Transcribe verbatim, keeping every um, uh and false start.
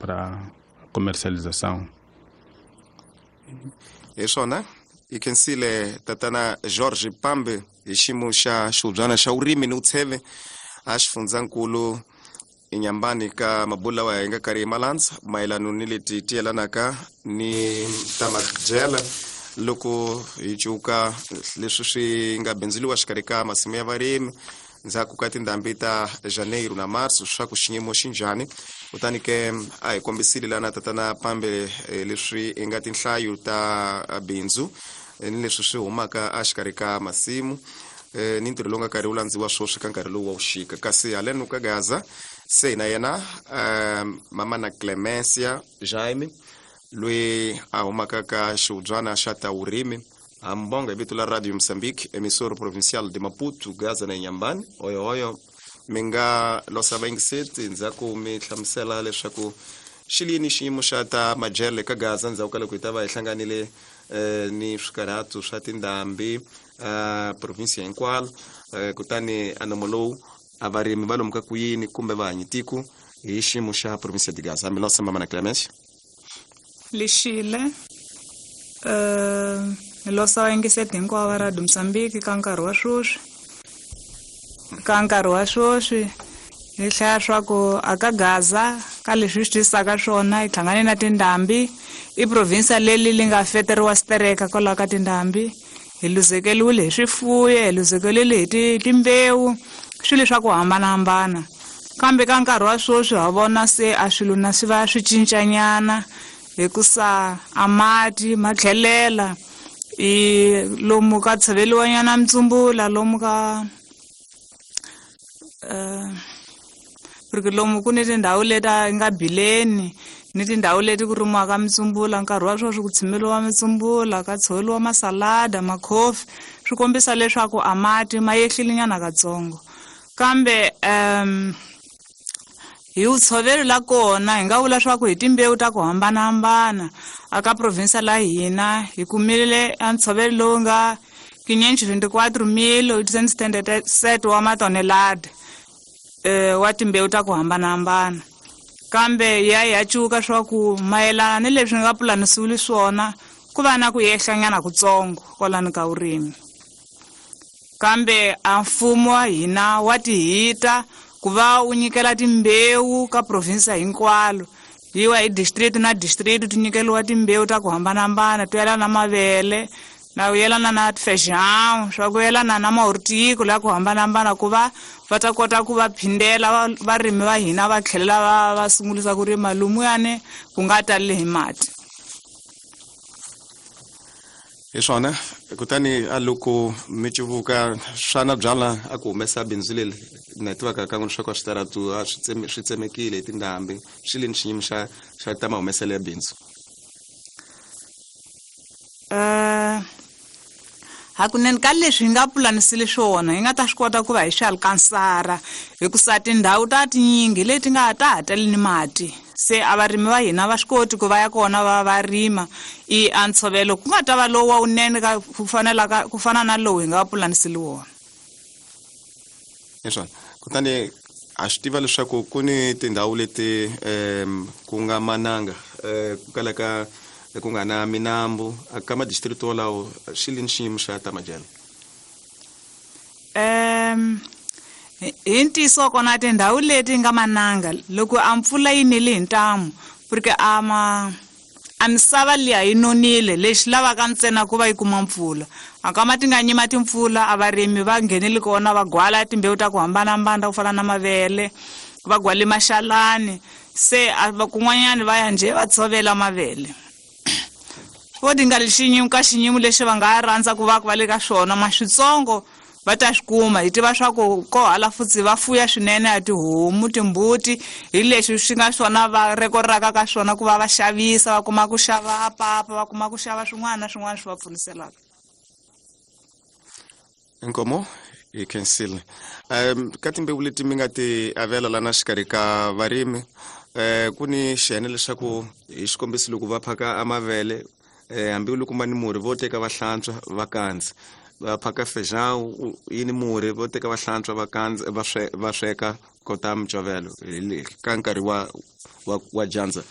para comercialização. Hi swona, hi khensile tatana George Pambe hi xiyimo xa xihubyana xa vurimi ni vutsheve a xifundzankulu Inyambani ka mabulo lawa hi nga karhi hi malandza mayelano ni leti ti yelanaka ni ta madyela loko hi cuka leswi swi nga bindzuriwa xikarhi ka masimu ya varimi ndzhaku ka tindhambi ta Janeiro na Marso, swa ku xiyimo xi njhani. Kutani ke a hi kombisile lana tatana Pambe leswi hi nga tinhlayo ta bindzu ni leswi swi humaka exikarhi ka masimu ni ntirho lowu nga karhi wu landziwa swoswi ka nkarhi lowu wa vuxika. Kasi haleno ka Gaza se na yena mama na Clemencia Jaime loyi a humaka ka xihubyana xa ta vurimi Ambonga hi vito la Radio Mozambique, emissora provincial de Maputo, Gaza na Inhambane. Oyo oyo mi nga losa vayingiseti ndzhaku mi hlamusela leswaku xi lini xiyimo xa ta madyele ka Gaza ndzhaku ka loko hi ta va hi hlanganile eh, ni swikarhatu swa tindhambi uh, provinsia hinkwalo, eh, kutani anomo lowu a varimi va lomuka ku yini kumbe va hanyi tiko hi xiyimo xa provinsia de Gaza. Mi losa mama na Clemencia. Lexile uh ni losa vayingiseti hinkwavo va Radio Mozambique ka nkarhi wa sweswi ka nkarhi wa sweswi hi hlaya swa ku aka Gaza ka leswi hi swi twisaka swona hi hlangane na tindhambi i provinsia leli li nga feteriwa stereka kwalaho ka tindhambi hi luzekeliwile hi swifuyo hi luzekeliwile hi ti timbewu swilo swa ku hambanahambana kambe ka nkarhi wa sweswi ha vona se a swilo na swi va swi cincanyana hikusa a mati ma tlhelela i lomu ka tshoveliwanyana mitsumbula lomu ka uh, porque lomu ku ni tindhawu leti a nga bileni ni tindhawu leti ku rimiwaka mitsumbula nkarhi wa sweswi ku tshimeliwa mitsumbula ka tshoveliwa masalada makhofi swi kombisa leswaku a mati ma yehlile nyana katsongo kambe um hi wutshovelo la kona hi nga vula swa ku hi timbewu ta ku hambanahambana aka provinsia la hina hi kumile a ntshovelo lowu nga quinhentos e vinte e quatro mil oitocentos e setenta e sete wa matonelada eh, wa timbewu ta ku hambanahambana kambe ya ya cuka swa ku mayelana ni leswi nga pulanisiwile swona ku va na ku yehlanyana kutsongo kwalano ka vurimi kambe a mfumo wa hina wa tihita ku va wu nyikela timbewu ka provinsia hinkwalo yiwa hi district na district ti nyikeliwa timbewu ta ku hambanahambana to yelana na mavele na ku yelana na feijão swa ku yelana na mahortico la ku hambanahambana ku va va ta kota ku va phindela varimi va hina va tlhelela va va sungulisa ku rima lumuyani ku nga tali hi mati. Hi swona, kutani a loko mi civuka swana byala a ku humesa bindzu leri na tivaka ka n'wina swa ku a switaratu a swi swi tsemekile hi tindhambi xi lini xiyimo xa xa ta mahumeselo ya bindzu? Uh, hakunene ka leswi hi nga pulanisile swona hi nga ta swi kota ku va hi swi alkansara hikusa tindhawu ta tinyingi leti nga ta ha tali ni mati se a varimi va hina va swi koti ku va ya kona va va rima i a ntshovelo ku nga ta va lowu wa wunene ka ku fanelaka ku fana na lowu hi nga pulanisile wona. Hi swona, kutani a swi tiva leswaku ku ni tindhawu leti um ku nga mananga um ku kalaka ku nga na minambu ka madistrict wolawo xi lini xiyimo xa ta madyelo? Um hi ntiyiso kona tindhawu leti nga mananga loko a mpfula yi nile hi ntamu porque a ma a misava liya yi nonile lexi lavaka ntsena ku va yi kuma mpfula a kama ti nga nyima timpfula a varimi va nghenile kona va gwala timbewu ta ku hambanahambana ku fana na mavele va gwale maxalani se kun'wanyani va ya njhe va tshovela mavele vo ti nga xinyimo ka xinyimo lexi va nga rhandza ku va ku va le ka swona ma switsongo va ta swi kuma hi tiva swa ku ko hala futsi va fuya swinene a tihomu timbuti hi leswi swi nga swona va rekoraka ka swona ku va va xavisa va kuma ku xava papa va kuma ku xava swin'wana na swin'wana swi va pfuniselaka. Inkomo hi khensile um ka timbewu leti mi nga ti avela lana xikarhi ka varimi um ku ni xiyenge leswaku hi xikombiso loko va phaka a mavele eh hambi loko ma ni murhi vo teka va hlantswa va kandza va phaka feijão yi ni murhi vo teka va hlantswa va kandza va va sweka kota micovelo ka nkarhi wa wa wa dyandza